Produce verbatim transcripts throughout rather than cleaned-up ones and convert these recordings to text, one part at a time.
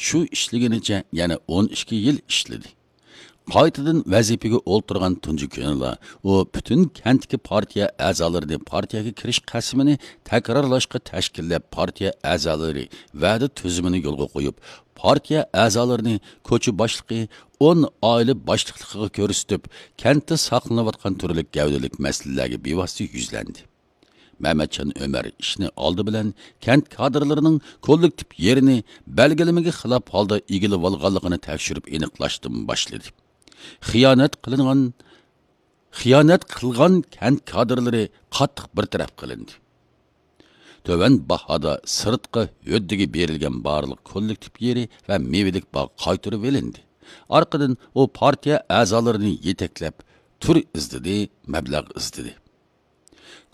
شۇ ئىشلىگىنىچە يەنە ئون ئىككى يىل ئىشلىدى. قايتىدىن ۋەزىپىگە ئولتۇرغان تۇنجى كۈنىلا ئۇ پۈتۈن كەنتتىكى پارتىيە ئەزالىرىنى پارتىيەگە كىرىش قەسىمىنى تەكرارلاشقا تەشكىللەپ، پارتىيە ئەزالىرى ۋەدە تۈزۈمىنى يولغا قويۇپ، پارتىيە ئەزالىرىنى كوچا باشلىقى، ئون ئائىلە باشلىقلىقىغا كۆرسىتىپ، كەنتتە ساقلىنىۋاتقان تۈرلۈك گەۋدىلىك مەسىلىلەرگە بىۋاسىتە يۈزلەندى. مەمەتجان ئۆمەر ئىشنى ئالدى بىلەن كەنت كادىرلىرىنىڭ كوللېكتىپ يېرىنى بەلگىلىمىگە خىلاپ ھالدا ئىگىلىۋالغانلىقىنى تەكشۈرۈپ ئېنىقلاشتىن باشلىدى. خىيانەت قىلىنغان، خىيانەت قىلغان كەنت كادىرلىرى قاتتىق بىر تەرەپ قىلىندى. تۆۋەن باھادا سىرتقى ھۆددىگە بېرىلگەن بارلىق كوللېكتىپ يېرى ۋە مېۋىلىك باغ قايتۇرۇۋېلىندى. ئارقىدىن ئۇ پارتىيە ئەزالىرىنى يېتەكلەپ، تۈر ئىزدىدى، مەبلەغ ئىزدىدى.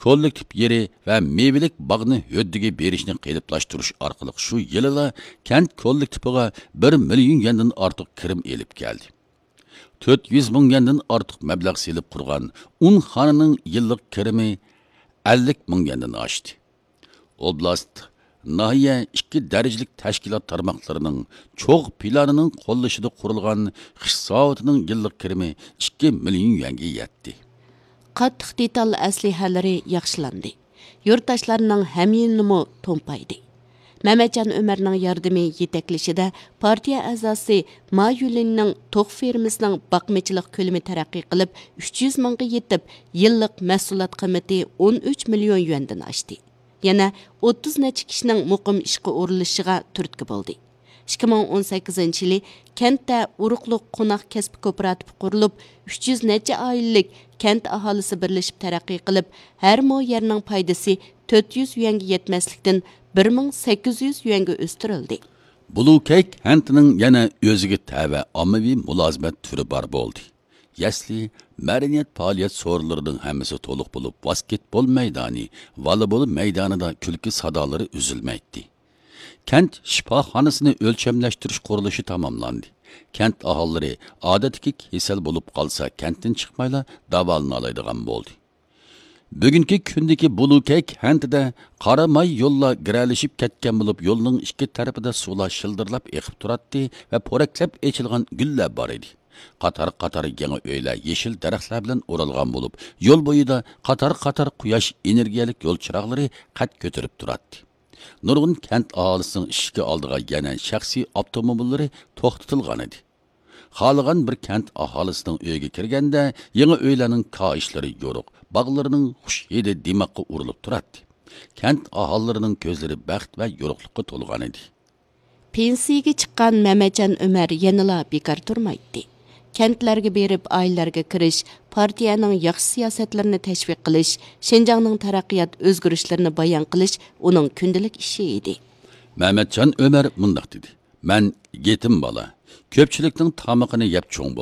كوللېكتىپ يېرى ۋە مېۋىلىك باغنى ھۆددىگە بېرىشنى قېلىپلاشتۇرۇش ئارقىلىق شۇ يىلىلا كەنت كوللېكتىپىغا بىر مىليون يۈەندىن ئارتۇق كىرىم ئېلىپ كەلدى. تۆت يۈز مىڭ يۈەندىن ئارتۇق مەبلەغ سېلىپ قۇرغان ئۇن خانىنىڭ يىللىق كىرىمى ئەللىك مىڭ يۈەندىن ئاشتى. ئوبلاست، ناھىيە ئىككى دەرىجىلىك تەشكىلات تارماقلىرىنىڭ چوغ پىلانىنىڭ قوللىشىدا قۇرۇلغان خىش زاۋۇتىنىڭ يىللىق كىرىمى ئىككى مىليون يۈەنگە يەتتى. قاتتىق دېتال ئەسلىھەلىرى ياخشىلاندى. يۇرتداشلارنىڭ ھەميانىمۇ تومپايدى. مەمەتجان ئۆمەرنىڭ ياردىمى يېتەكلىشىدە پارتىيە ئەزاسى ما يۈلىننىڭ توخۇ فېرمىسىنىڭ باقمىچىلىق كۆلىمى تەرەققىي قىلىپ، ئۈچ يۈز مىڭغا يېتىپ، يىللىق مەھسۇلات قىممىتى ئون ئۈچ مىليون يۈەندىن ئاشتى. يەنە ئوتتۇز نەچچە كىشىنىڭ مۇقىم ئىشقا ئورۇنلىشىشىغا تۈرتكە بولدى. ئىككى مىڭ ئون سەككىزىنچى يىلى كەنتتە ئۇرۇقلۇق قوناق كەسپى كوپىراتىپى قۇرۇلۇپ، ئۈچ يۈز نەچچە ئائىلىلىك كەنت ئاھالىسى بىرلىشىپ تەرەققىي قىلىپ، ھەر مو يەرنىڭ پايدىسى تۆت يۈز يۈەنگە يەتمەسلىكتىن، بىر مىڭ سەككىز يۈز يۈەنگە ئۆستۈرۈلدى. بۇلۇكەي كەنتىنىڭ يەنە ئۆزىگە تەۋە ئاممىۋى مۇلازىمەت تۈرى بار بولدى. يەسلى، مەدەنىيەت پائالىيەت سورۇنلىرىنىڭ ھەممىسى تولۇق بولۇپ، ۋاسكېتبول مەيدانى، ۋالىبول مەيدانىدا كۈلكە سادالىرى ئۈزۈلمەيتتى. كەنت شىپاخانىسىنى ئۆلچەملەشتۈرۈش قۇرۇلۇشى تاماملاندى. كەنت ئاھالىلىرى ئادەتتىكى كېسەل بولۇپ قالسا، كەنتتىن چىقمايلا داۋالىنالايدىغان بولدى. بۈگۈنكى كۈندىكى بۇلۇكەي كەنتىدە قارا ماي يوللار گىرەلىشىپ كەتكەن بولۇپ، يولنىڭ ئىككى تەرىپىدە سۇلار شىلدىرلاپ ئېقىپ تۇراتتى ۋە پورەكلەپ ئېچىلغان گۈللەر بار ئىدى. قاتار-قاتار يېڭى ئۆيلەر يېشىل دەرەخلەر بىلەن ئورالغان بولۇپ، يول بويىدا قاتار-قاتار قۇياش ئېنېرگىيەلىك يول چىراغلىرى قەد كۆتۈرۈپ تۇراتتى. نۇرغۇن كەنت ئاھالىسىنىڭ ئىشىكى ئالدىغا يەنە شەخسىي ئاپتوموبىللىرى توختىتىلغانىدى. خالىغان بىر كەنت ئاھالىسىنىڭ ئۆيىگە كىرگەندە، يېڭى ئۆيلەرنىڭ كاھىشلىرى يورۇق، باغلىرىنىڭ خۇش ھىدى دىماغقا ئۇرۇلۇپ تۇراتتى. كەنت ئاھالىلىرىنىڭ كۆزلىرى بەخت ۋە يورۇقلۇققا تولغانىدى. پېنسىيىگە چىققان مەمەتجان ئۆمەر يەنىلا بىكار تۇرمايتتى. كەنتلەرگە بېرىپ، ئائىلىلەرگە كىرىش، پارتىيەنىڭ ياخشى سىياسەتلىرىنى تەشۋىق قىلىش، شىنجاڭنىڭ تەرەققىيات ئۆزگىرىشلىرىنى بايان قىلىش ئۇنىڭ كۈندىلىك ئىشى ئىدى. مەمەتجان ئۆمەر مۇنداق دېدى: مەن يېتىم بالا، كۆپچىلىكنىڭ تامىقىنى يەپ چوڭ بولدۇم.